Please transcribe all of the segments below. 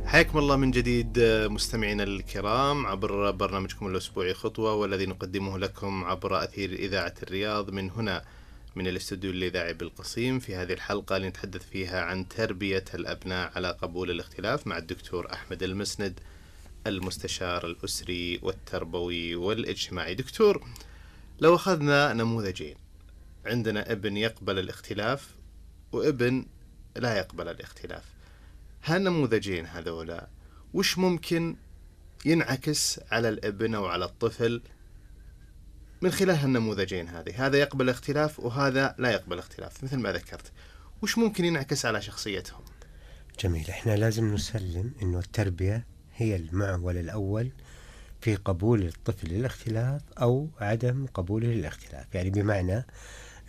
حياكم الله من جديد مستمعينا الكرام عبر برنامجكم الأسبوعي خطوة، والذي نقدمه لكم عبر أثير إذاعة الرياض من هنا من الاستوديو الإذاعي بالقصيم. في هذه الحلقة نتحدث فيها عن تربية الأبناء على قبول الاختلاف مع الدكتور أحمد المسند، المستشار الأسري والتربوي والاجتماعي. دكتور، لو أخذنا نموذجين، عندنا ابن يقبل الاختلاف وابن لا يقبل الاختلاف، هالنموذجين هذولا وش ممكن ينعكس على الابن أو على الطفل من خلال هالنموذجين هذه؟ هذا يقبل اختلاف وهذا لا يقبل اختلاف مثل ما ذكرت، وش ممكن ينعكس على شخصيتهم؟ جميل. احنا لازم نسلم انه التربية هي المعول الأول في قبول الطفل للاختلاف أو عدم قبوله للاختلاف. يعني بمعنى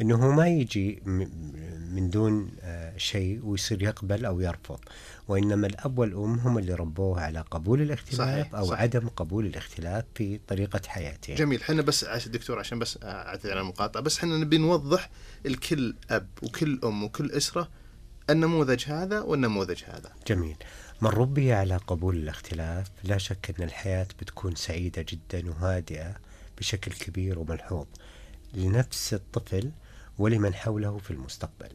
انه ما يجي من دون شيء ويصير يقبل او يرفض، وانما الاب والام هم اللي ربوه على قبول الاختلاف او صحيح. عدم قبول الاختلاف في طريقة حياته. جميل. حنا بس دكتور عشان بس اعتذر عن المقاطعة، بس حنا نبي نوضح الكل اب وكل ام وكل اسرة النموذج هذا والنموذج هذا. جميل. من ربي على قبول الاختلاف لا شك ان الحياة بتكون سعيدة جدا وهادئة بشكل كبير وملحوظ لنفس الطفل ولمن حوله في المستقبل،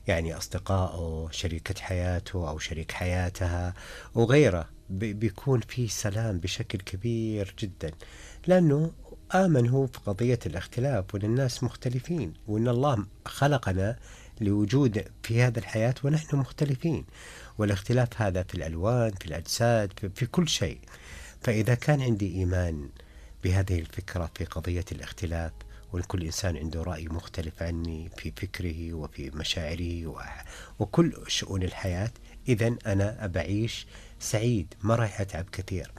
يعني أصدقائه، شريكة حياته أو شريك حياتها وغيره، بيكون في سلام بشكل كبير جدا، لأنه آمن هو في قضية الاختلاف وأن الناس مختلفين وأن الله خلقنا لوجود في هذا الحياة ونحن مختلفين، والاختلاف هذا في الألوان، في الأجساد، في كل شيء. فإذا كان عندي إيمان بهذه الفكرة في قضية الاختلاف، وكل إنسان عنده رأي مختلف عني في فكره وفي مشاعره وكل شؤون الحياة، إذن أنا أبعيش سعيد، ما راح أتعب كثير.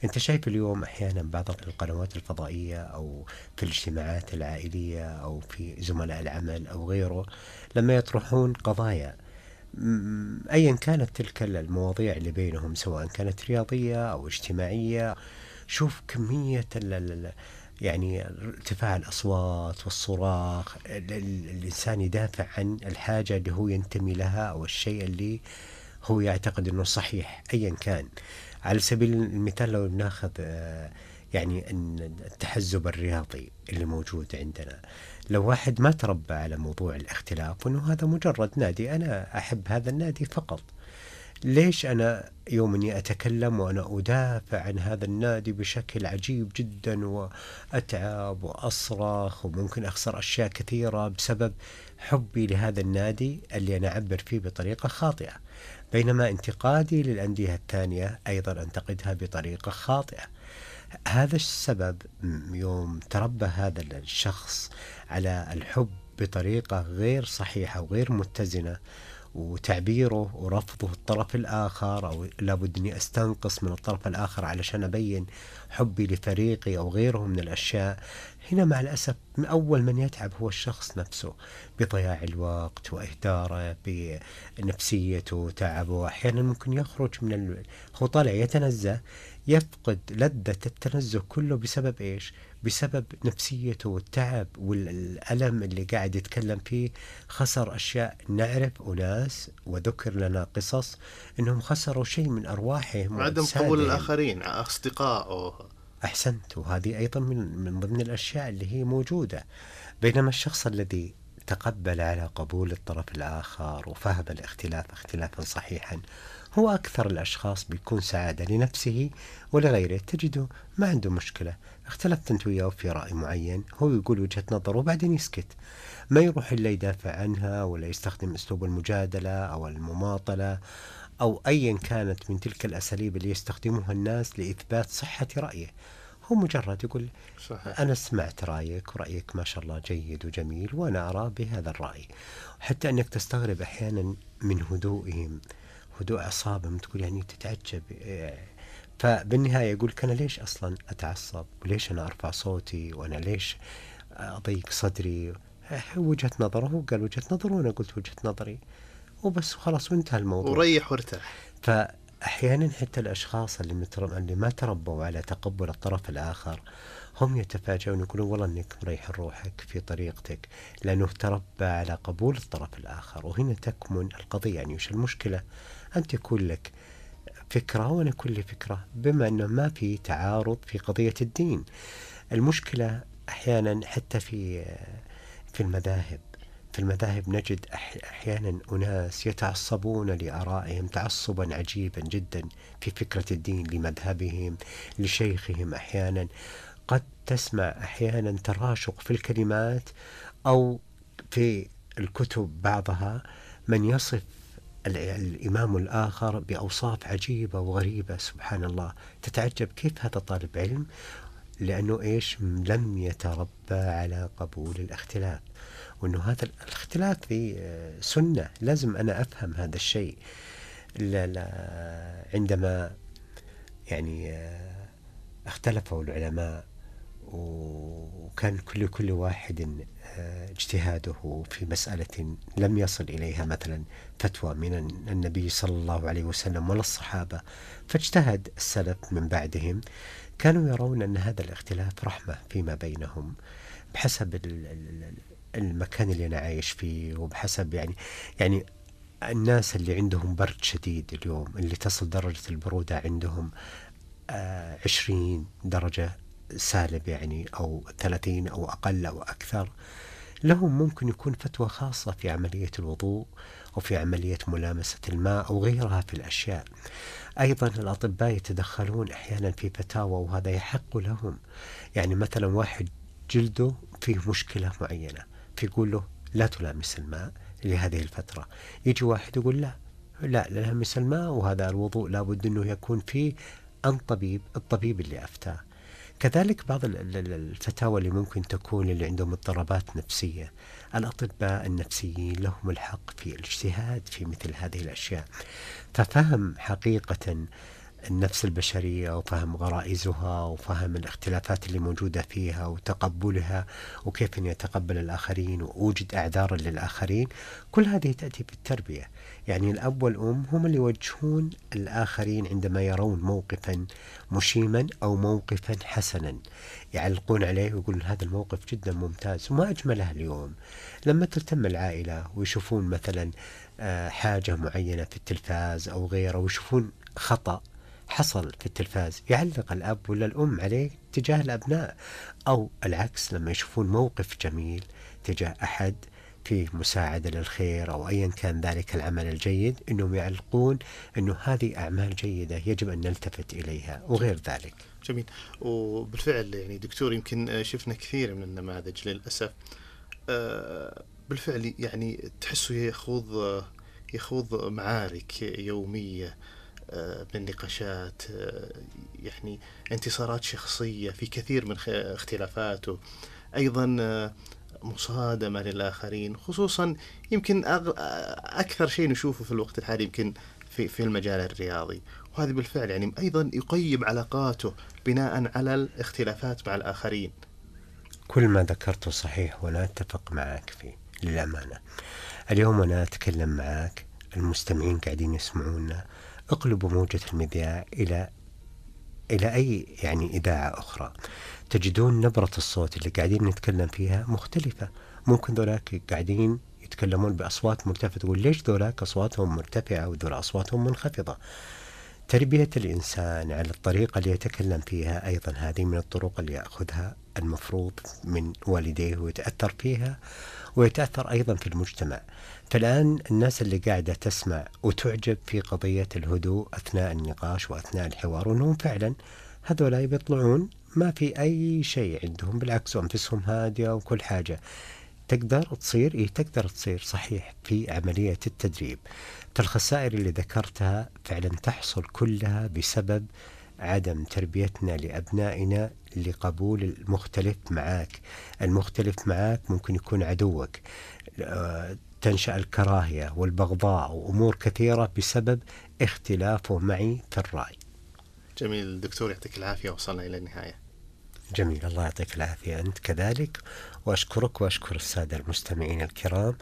أنت شايف اليوم أحيانا بعض القنوات الفضائية أو في الاجتماعات العائلية أو في زملاء العمل أو غيره، لما يطرحون قضايا أيا كانت تلك المواضيع اللي بينهم، سواء كانت رياضية أو اجتماعية، شوف كمية يعني ارتفاع الأصوات والصراخ. الإنسان يدافع عن الحاجة اللي هو ينتمي لها أو الشيء اللي هو يعتقد أنه صحيح أيا كان. على سبيل المثال لو ناخذ يعني التحزب الرياضي اللي موجود عندنا، لو واحد ما تربى على موضوع الاختلاف وأنه هذا مجرد نادي، أنا أحب هذا النادي فقط، ليش أنا يوم أني أتكلم وأنا أدافع عن هذا النادي بشكل عجيب جدا وأتعب وأصرخ وممكن أخسر أشياء كثيرة بسبب حبي لهذا النادي اللي أنا أعبر فيه بطريقة خاطئة، بينما انتقادي للأندية الثانية أيضا أنتقدها بطريقة خاطئة. هذا السبب يوم تربى هذا الشخص على الحب بطريقة غير صحيحة وغير متزنة، وتعبيره ورفضه الطرف الآخر، أو لابد أني أستنقص من الطرف الآخر علشان أبين حبي لفريقي أو غيره من الأشياء، هنا مع الأسف أول من يتعب هو الشخص نفسه بضياع الوقت وإهداره بنفسيته وتعبه. أحيانا ممكن يخرج هو طالع يتنزه، يفقد لذة التنزه كله بسبب إيش؟ بسبب نفسيته والتعب والألم اللي قاعد يتكلم فيه. خسر أشياء، نعرف أناس وذكر لنا قصص أنهم خسروا شيء من أرواحهم وعدم قبول الآخرين، أصدقائه. أحسنت، وهذه أيضا من ضمن الأشياء اللي هي موجودة. بينما الشخص الذي تقبل على قبول الطرف الآخر وفهم الاختلاف اختلافا صحيحا هو أكثر الأشخاص بيكون سعادة لنفسه ولغيره. تجده ما عنده مشكلة، اختلفت انت وياه في رأي معين، هو يقول وجهة نظره وبعدين يسكت، ما يروح إلا يدافع عنها ولا يستخدم أسلوب المجادلة أو المماطلة أو أيا كانت من تلك الأساليب اللي يستخدمها الناس لإثبات صحة رأيه. هو مجرد يقول صحيح. أنا سمعت رأيك ورأيك ما شاء الله جيد وجميل وأنا أرى بهذا الرأي. حتى أنك تستغرب أحيانا من هدوئهم، هدوء أعصابهم، تقول يعني تتعجب. فبالنهاية يقول أنا ليش أصلا أتعصب وليش أنا أرفع صوتي وأنا ليش أضيق صدري؟ وجهة نظره، هو قال وجهة نظره وأنا قلت وجهة نظري وبس خلاص وانتهى الموضوع وريح وارتاح. فأحيانا حتى الأشخاص اللي ما تربوا على تقبل الطرف الآخر هم يتفاجئون يقولون والله أنك مريح روحك في طريقتك لأنه تربى على قبول الطرف الآخر. وهنا تكمن القضية. يعني وش المشكلة أن تكون لك فكرة وأنا كل فكرة، بما أنه ما في تعارض في قضية الدين. المشكلة أحيانا حتى في المذاهب، في المذاهب نجد أحيانا أناس يتعصبون لآرائهم تعصبا عجيبا جدا في فكرة الدين، لمذهبهم، لشيخهم. أحيانا قد تسمع أحيانا تراشق في الكلمات أو في الكتب بعضها من يصف الإمام الآخر بأوصاف عجيبة وغريبة. سبحان الله، تتعجب كيف هذا طالب علم، لأنه إيش لم يتربى على قبول الاختلاف، وأنه هذا الاختلاف في سنة، لازم أنا أفهم هذا الشيء. لا عندما يعني اختلفوا العلماء وكان كل واحد اجتهاده في مسألة لم يصل إليها مثلا فتوى من النبي صلى الله عليه وسلم ولا الصحابة، فاجتهد السلف من بعدهم، كانوا يرون أن هذا الاختلاف رحمة فيما بينهم بحسب المكان اللي أنا عايش فيه، وبحسب يعني الناس اللي عندهم برد شديد اليوم، اللي تصل درجة البرودة عندهم 20 درجة سالب يعني، أو 30 أو أقل أو أكثر، لهم ممكن يكون فتوى خاصة في عملية الوضوء أو في عملية ملامسة الماء أو غيرها في الأشياء. أيضا الأطباء يتدخلون أحيانا في فتاوى وهذا يحق لهم. يعني مثلا واحد جلده فيه مشكلة معينة، فيقول له لا تلامس الماء لهذه الفترة، يجي واحد يقول لا لامس الماء، وهذا الوضوء لابد أنه يكون فيه الطبيب اللي أفتاه. كذلك بعض الفتاوى اللي ممكن تكون اللي عندهم اضطرابات نفسية، الأطباء النفسيين لهم الحق في الاجتهاد في مثل هذه الأشياء. ففهم حقيقة النفس البشرية وفهم غرائزها وفهم الاختلافات اللي موجودة فيها وتقبلها وكيف أن يتقبل الآخرين ووجد أعذار للآخرين، كل هذه تأتي بالتربية. يعني الأب والأم هم اللي يوجهون الآخرين عندما يرون موقفا مشيما أو موقفا حسنا، يعلقون عليه ويقولون هذا الموقف جدا ممتاز. وما أجملها اليوم لما تلتم العائلة ويشوفون مثلا حاجة معينة في التلفاز أو غيره، ويشوفون خطأ حصل في التلفاز، يعلق الأب ولا الأم عليه تجاه الأبناء، أو العكس لما يشوفون موقف جميل تجاه أحد فيه مساعدة للخير أو أيا كان ذلك العمل الجيد، أنهم يعلقون أنه هذه أعمال جيدة يجب أن نلتفت إليها وغير ذلك. جميل. وبالفعل يعني دكتور يمكن شفنا كثير من النماذج للأسف بالفعل يعني تحسه يخوض معارك يومية بالنقاشات، يعني انتصارات شخصية في كثير من اختلافاته، أيضا مصادمة للآخرين، خصوصا يمكن أكثر شيء نشوفه في الوقت الحالي يمكن في المجال الرياضي، وهذا بالفعل يعني أيضا يقيم علاقاته بناء على الاختلافات مع الآخرين. كل ما ذكرته صحيح وأنا أتفق معك فيه للأمانة. اليوم أنا أتكلم معك، المستمعين قاعدين يسمعونا، اقلبوا موجة المذياع إلى أي يعني إذاعة أخرى، تجدون نبرة الصوت اللي قاعدين نتكلم فيها مختلفة. ممكن ذولاك قاعدين يتكلمون بأصوات مرتفعة، تقول ليش ذولاك أصواتهم مرتفعة وذول أصواتهم منخفضة؟ تربية الإنسان على الطريقة اللي يتكلم فيها أيضا هذه من الطرق اللي يأخذها المفروض من والديه ويتأثر فيها ويتأثر أيضا في المجتمع. فالآن الناس اللي قاعدة تسمع وتعجب في قضية الهدوء أثناء النقاش وأثناء الحوار، وأنهم فعلا هذولا بيطلعون ما في أي شيء عندهم، بالعكس أنفسهم هادية وكل حاجة تقدر تصير تقدر تصير صحيح في عملية التدريب. فالخسائر اللي ذكرتها فعلا تحصل كلها بسبب عدم تربيتنا لأبنائنا لقبول المختلف معاك. المختلف معاك ممكن يكون عدوك، تنشأ الكراهية والبغضاء وأمور كثيرة بسبب اختلافه معي في الرأي. جميل دكتور، يعطيك العافية، وصلنا إلى النهاية. جميل، الله يعطيك العافية أنت كذلك، وأشكرك وأشكر السادة المستمعين الكرام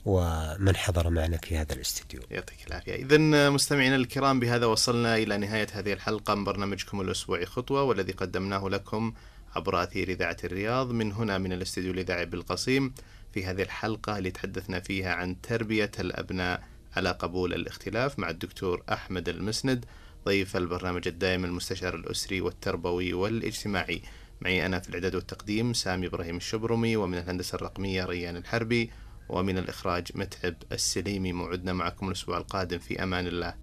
ومن حضر معنا في هذا الاستديو. يعطيك العافية. إذن مستمعينا الكرام، بهذا وصلنا إلى نهاية هذه الحلقة من برنامجكم الأسبوعي خطوة، والذي قدمناه لكم عبر أثير إذاعة الرياض من هنا من الاستديو الإذاعي بالقصيم. في هذه الحلقة اللي تحدثنا فيها عن تربية الأبناء على قبول الاختلاف مع الدكتور أحمد المسند، ضيف البرنامج الدائم المستشار الأسري والتربوي والاجتماعي. معي أنا في الإعداد والتقديم سامي إبراهيم الشبرمي، ومن الهندسة الرقمية ريان الحربي، ومن الإخراج متعب السليمي. موعدنا معكم الأسبوع القادم، في أمان الله.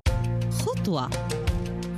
خطوة